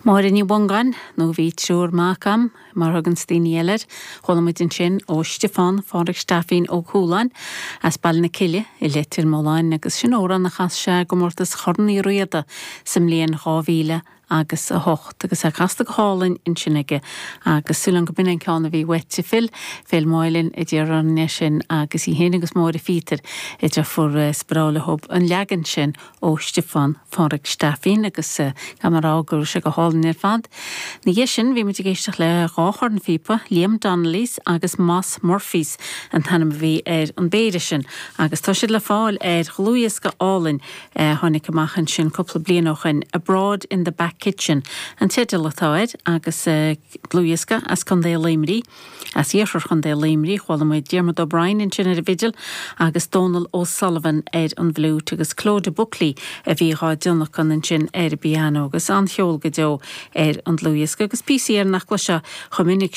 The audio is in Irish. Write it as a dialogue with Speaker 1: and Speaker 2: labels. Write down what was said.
Speaker 1: Máire Ní Mhongáin, nó bhí triúr mac a'm, mar a thuganns daoine eile air. Chuala muid ansin ó Stiofán Phádhraic Steifín Ó Cualáin as Baile na Cille i Leitir Mealláin agus sin amhrán a chas sé i gcomórtas Chorn Uí Riada sa mbliain 2000 agus 8 agus é casta go hálainn ansin aige agus súil agam go b'in an ceann a bhí uait a Phil, Phil Moylan a d'iarr orainn é sin agus í féin agus Máire Phíotair a deirfiúr is breá leo an leagan sin ó Stiofán Phádhraic Steifín agus caithfidh mé a rá go raibh sé go hálainn ar fad. Ina dhiaidh sin bhí muid ag éisteacht le dhá chornphíopa, Liam Donnelly's agus Moss Murphy's an t-ainm a bhí ar an bpéire sin agus tá siad le fáil ar dhlúthdhiosca álainn a tháinig amach ansin cúpla bliain ó shoin, Abroad in the Back Kitchen an teideal atá air agus dlúthdhiosca as Contae Luimnigh, as iarthar Chontae Luimnigh. Chuala muid Diarmuid O'Brien ansin ar an bhfidil agus Dónal O'Sullivan ar an bhfliúit agus Clodagh Buckley a bhí dhá dtionlacan ansin ar an bpianó agus an-cheol go deo ar an dlúthdhiosca agus píosaí air nach gcloisfeá chomh minic.